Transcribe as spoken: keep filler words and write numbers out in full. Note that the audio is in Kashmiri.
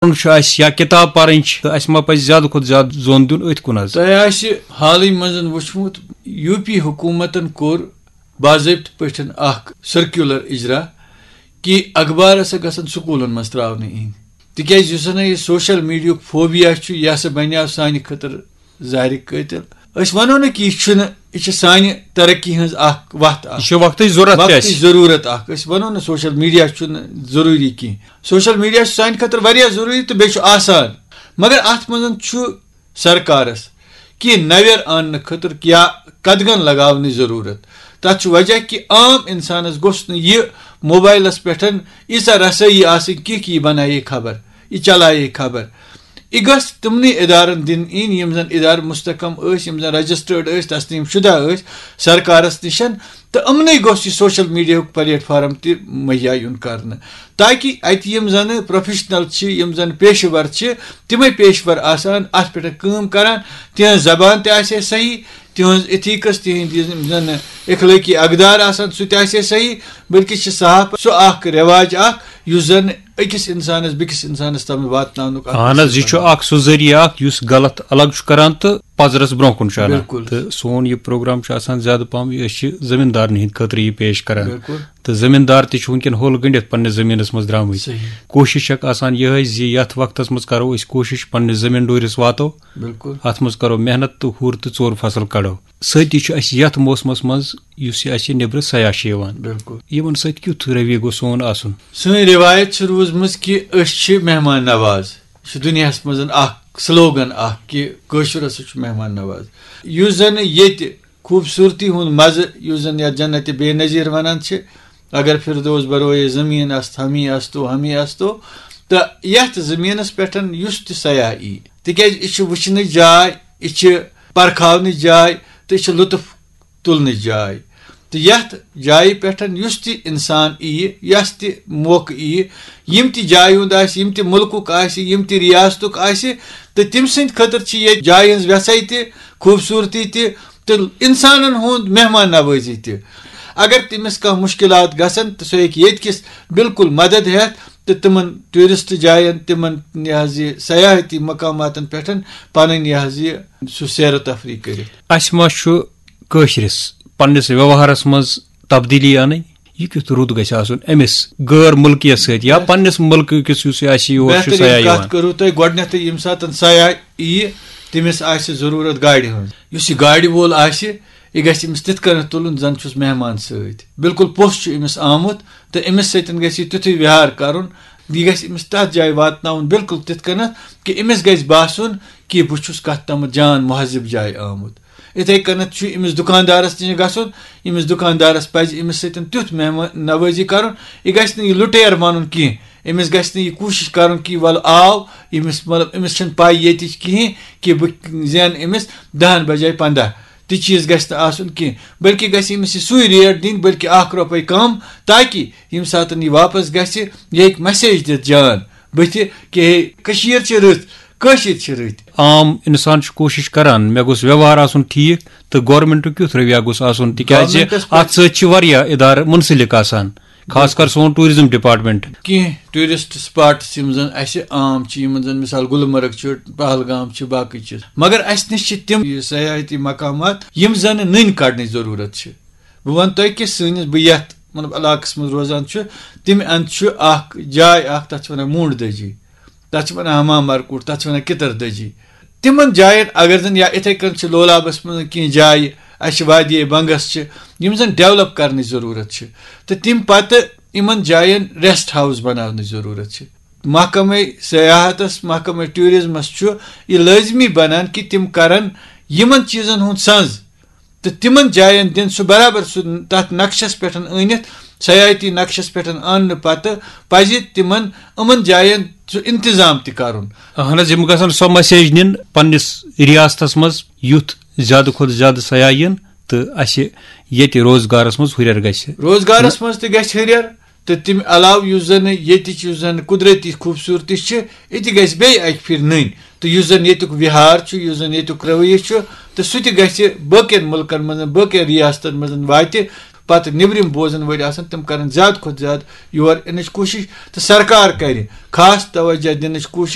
پرُن چھُ اَسہِ یا کِتاب پَرٕنۍ چھِ، تہٕ اَسہِ ما پَزِ زیادٕ کھۄتہٕ زیادٕ زوٚن دیُن أتھۍ کُن حظ؟ تۄہہِ آسہِ حالٕے منٛز وٕچھمُت، یو پی حکوٗمتَن کوٚر باضٲبطہٕ پٲٹھۍ اَکھ سٔرکیوٗلَر اِجرا کہِ اخبار ہسا گژھن سکوٗلَن منٛز ترٛاونہٕ یِنۍ، تِکیٛازِ یُس زَن یہِ سوشل میٖڈیاہُک فوبیا چھُ، یہِ ہسا بَنیٛاو سانہِ خٲطرٕ زہرِ قٲتِل۔ أسۍ وَنو نہٕ کہِ یہِ چھُنہٕ، یہِ چھِ سانہِ ترقی ہٕنٛز اَکھ وَتھ اَکھ۔ یہِ چھِ وقتٕچ ضروٗرت تہِ وقتٕچ اَسہِ۔ ضروٗرت اَکھ۔ أسۍ وَنو نہٕ سوشل میٖڈیا چھُنہٕ ضروٗری کینٛہہ۔ سوشل میٖڈیا چھُ سانہِ خٲطرٕ واریاہ ضروٗری تہٕ بیٚیہِ چھُ آسان، مگر اَتھ منٛز چھُ سرکارَس کینٛہہ نَوٮ۪ر اَننہٕ خٲطرٕ یا قدغن لگاونٕچ ضروٗرت۔ تَتھ چھُ وجہ کہِ عام اِنسانَس گوٚژھ نہٕ یہِ موبایلَس پٮ۪ٹھ ییٖژاہ رسٲیی آسٕنۍ کینٛہہ کہِ یہِ بنایہِ خبر، یہِ چلایہِ خبر۔ یہِ گژھِ تِمنٕے ادارن دِنہٕ یِنۍ، یِم زن ادارٕ مستحکم ٲسۍ، یِم زن رجسٹرڈ ٲسۍ، تسلیم شدہ ٲسۍ سرکارس نِش، تہٕ یِمنٕے گوٚژھ یہِ سوشل میٖڈیاہُک پلیٹ فارم تہِ مہیا یُن کرنہٕ، تاکہِ اتہِ یِم زن پروفیشنل چھِ، یِم زن پیشہٕ ور چھِ، تِمے پیشہٕ ور آسان اتھ پٮ۪ٹھ کٲم کران، تِہنٛز زبان تہِ آسہِ ہے صحیح، تِہنٛز ایتھیکس، تِہنٛدۍ یِم زن اخلٲقی اقدار آسن، سُہ تہِ آسہِ ہے صحیح، بلکہِ چھِ صحافت سُہ اکھ رواج اکھ یُس زن أکِس اِنسانَس بیٚکِس اِنسانَس تام واتناونُک اکھ اہن حظ، وسیلہٕ یہِ چھُ بنان۔ اکھ سُہ ذٔریعہٕ اکھ یُس غلط الگ چھُ کران تہٕ پزرس برونٛہہ کُن چھُ انان۔ بِلکُل۔ تہٕ سون یہِ پروگرام چھُ آسان زیادٕ پہم، أسۍ چھِ زٔمیٖندارن ہٕنٛدِ خٲطرٕ یہِ پیش کران۔ بِلکُل۔ تہٕ زٔمیٖندار تہِ چھِ وٕنکیٚن ہوٚل گٔنڈِتھ پننِس زٔمیٖنس منٛز درٛامٕتۍ۔ صحیح۔ کوٗشِش چھکھ آسان یِہے زِ یتھ وقتس منٛز کرو أسۍ کوٗشِش پننِس زٔمیٖن ڈوٗرِس واتو، بِلکُل۔ اتھ منٛز کرو محنت تہٕ ہُر تہٕ ژوٚر فصل کڑو۔ سۭتی چھُ اَسہِ یَتھ موسمَس منٛز یُس یہِ اَسہِ نیٚبرٕ سیاح چھِ یِوان، بِلکُل۔ یِمَن سۭتۍ کیُتھ رویہِ گوٚو سون آسُن؟ سٲنۍ رِوایت چھِ روٗزمٕژ کہِ أسۍ چھِ مہمان نواز۔ یہِ چھُ دُنیاہَس منٛز اَکھ سلوگن اَکھ کہِ کٲشُر ہسا چھُ مہمان نواز۔ یُس زَن ییٚتہِ خوٗبصوٗرتی ہُنٛد مَزٕ، یُس زَن یَتھ جنت بے نظیر وَنان چھِ، اگر فردوس بروئے زمین است، ہمی استو، ہمی استو، تہٕ یَتھ زٔمیٖنَس پٮ۪ٹھ یُس تہِ سیاح یی، تِکیٛازِ یہِ چھِ وٕچھنٕچ جاے، یہِ چھِ پرکھاونٕچ جاے تہٕ یہِ چھِ لطف تُلنٕچ جاے۔ تہٕ یَتھ جایہِ پٮ۪ٹھ یُس تہِ اِنسان یِیہِ، یَس تہِ موقعہٕ یِیہِ، یِم تہِ جایہِ ہُنٛد آسہِ، یِم تہِ مُلکُک آسہِ، یِم تہِ رِیاستُک آسہِ، تہٕ تٔمۍ سٕنٛدِ خٲطرٕ چھِ ییٚتہِ جایہِ ہٕنٛز وٮ۪ژھَے تہِ، خوٗبصوٗرتی تہِ، تہٕ اِنسانَن ہُنٛد مہمان نوٲزی تہِ۔ اگر تٔمِس کانٛہہ مُشکِلات گژھن، تہٕ سُہ ہیٚکہِ ییٚتہِ کِس بِلکُل مدد ہٮ۪تھ تہٕ تِمَن ٹوٗرِسٹ جایَن، تِمَن یہِ حظ یہِ سیاحتی مقاماتَن پٮ۪ٹھ پَنٕنۍ یہِ حظ یہِ سُہ سیر و تفریح کٔرِتھ۔ اَسہِ ما چھُ کٲشرِس پننِس ویوہارس منٛز تبدیٖلی اَنٕنۍ؟ یہِ کیُتھ رُت گژھِ آسُن أمِس غٲر مُلکیَس سۭتۍ یا پننِس مُلکہٕ کِس یُس یہِ آسہِ یور چھُ بہتریٖن سیاح کَتھ یِوان؟ کٔرٕو تۄہہِ۔ گۄڈٕنٮ۪تھٕے ییٚمہِ ساتہٕ سیاح یِیہِ، تٔمِس آسہِ ضروٗرت گاڑِ ہٕنٛز۔ یُس یہِ گاڑِ وول آسہِ، یہِ گژھِ أمِس تِتھ کٔنٮ۪تھ تُلُن زَن چھُس مہمان سۭتۍ۔ بِلکُل پوٚژھ چھُ أمِس آمُت تہٕ أمِس سۭتۍ گژھِ یہِ تیُتھُے ویہار کَرُن، یہِ گژھِ أمِس تَتھ جایہِ واتناوُن بِلکُل تِتھ کٔنٮ۪تھ کہِ أمِس گژھِ باسُن کہِ بہٕ چھُس کَتھ تامَتھ جان مہذب جایہِ آمُت۔ یِتھَے کٔنٮ۪تھ چھُ أمِس دُکاندارَس نِش گژھُن، أمِس دُکاندارَس پَزِ أمِس سۭتۍ تیُتھ مہمان نوٲزی کَرُن، یہِ گژھِ نہٕ یہِ لُٹیر بَنُن کینٛہہ۔ أمِس گژھِ نہٕ یہِ کوٗشِش کَرُن کہِ وَلہٕ آو، أمِس، مطلب، أمِس چھَنہٕ پَے ییٚتِچ کِہیٖنۍ کہِ بہٕ زینہٕ أمِس دَہَن بجایہِ پنٛداہ۔ تہِ چیٖز گژھِ نہٕ آسُن کینٛہہ، بلکہِ گژھِ أمِس یہِ سُے ریٹ دِنۍ، بلکہِ اَکھ رۄپَے کَم، تاکہِ ییٚمہِ ساتَن یہِ واپَس گژھِ، یہِ ہیٚکہِ message دِتھ جان بٕتھِ کہِ ہے، کٔشیٖر چھِ رٕژ، کٲشِرۍ چھِ رٕتۍ۔ عام اِنسان چھُ کوٗشِش کران، مےٚ گوٚژھ ویوہار آسُن ٹھیٖک تہٕ گورنمنٹُک کیُتھ رویہ گوٚژھ آسُن، تِکیٛازِ گورنمنٹَس پٮ۪ٹھ اَتھ سۭتۍ چھِ واریاہ اِدارٕ مُنسلِک آسان، خاص کر سون ٹوٗرِزم ڈپارٹمنٹ۔ کینٛہہ ٹوٗرِسٹ سپاٹس یِم زَن اَسہِ عام چھِ، یِمَن زَن مِثال گُلمرگ چھُ، پہلگام چھِ، باقٕے چیٖز، مگر اَسہِ نِش چھِ تِم یہِ سیاحتی مقامات یِم زَن نٔنۍ کَڑنٕچ ضروٗرت چھِ۔ بہٕ وَنہٕ تۄہہِ کہِ سٲنِس، بہٕ یَتھ، مطلب، علاقَس منٛز روزان چھُ، تَمہِ اَندٕ چھُ اَکھ جاے اَکھ، تَتھ چھِ وَنان موٗنٛڈ دٔجی، تَتھ چھِ وَنان ہما مرکوٗٹ، تَتھ چھِ وَنان کِتَر دٔجی۔ تِمَن جایَن اگر زَن، یا یِتھَے کٔنۍ چھِ لولابَس منٛز کینٛہہ جایہِ، اَسہِ چھِ وادی بنٛگَس چھِ، یِم زَن ڈٮ۪ولَپ کَرنٕچ ضروٗرت چھِ، تہٕ تَمہِ پَتہٕ یِمَن جایَن ریسٹ ہاوُس بَناونٕچ ضروٗرت چھِ۔ محکمَے سیاحتَس، محکمَے ٹوٗرِزمَس چھُ یہِ لٲزمی بَنان کہِ تِم کَرَن یِمَن چیٖزَن ہُنٛد سَنٛز تہٕ تِمَن جایَن دِن سُہ برابر سُہ تَتھ نقشَس پٮ۪ٹھ أنِتھ، سیاحتی نقشَس پٮ۪ٹھ اَننہٕ پَتہٕ پَزِ تِمَن یِمَن جایَن سُہ اِنتِظام تہِ کَرُن۔ اہن حظ، یِم گژھن سۄ message نِن پننِس ریاستَس منٛز، یُتھ زیادٕ کھۄتہٕ زیادٕ سیاح یِن تہٕ اَسہِ ییٚتہِ روزگارَس منٛز ہُرٮ۪ر گژھِ۔ روزگارَس منٛز تہِ گژھِ ہُرٮ۪ر، تہٕ تَمہِ علاوٕ یُس زَن ییٚتِچ، یُس زَن قُدرتی خوٗبصوٗرتی چھِ، یہِ تہِ گژھِ بیٚیہِ اَکہِ پھِرِ نٔنۍ۔ تہٕ یُس زَن ییٚتیُک وِہار چھُ، یُس زَن ییٚتیُک رویہِ چھُ، تہٕ سُہ تہِ گژھِ باقیَن مُلکَن منٛز، باقیَن ریاستَن منٛز واتہِ۔ پَتہٕ نیٚبرِم بوزَن وٲلۍ آسَن، تِم کَرَن زیادٕ کھۄتہٕ زیادٕ یور یِنٕچ کوٗشِش، تہٕ سرکار کَرِ خاص توجہ دِنٕچ کوٗشِش۔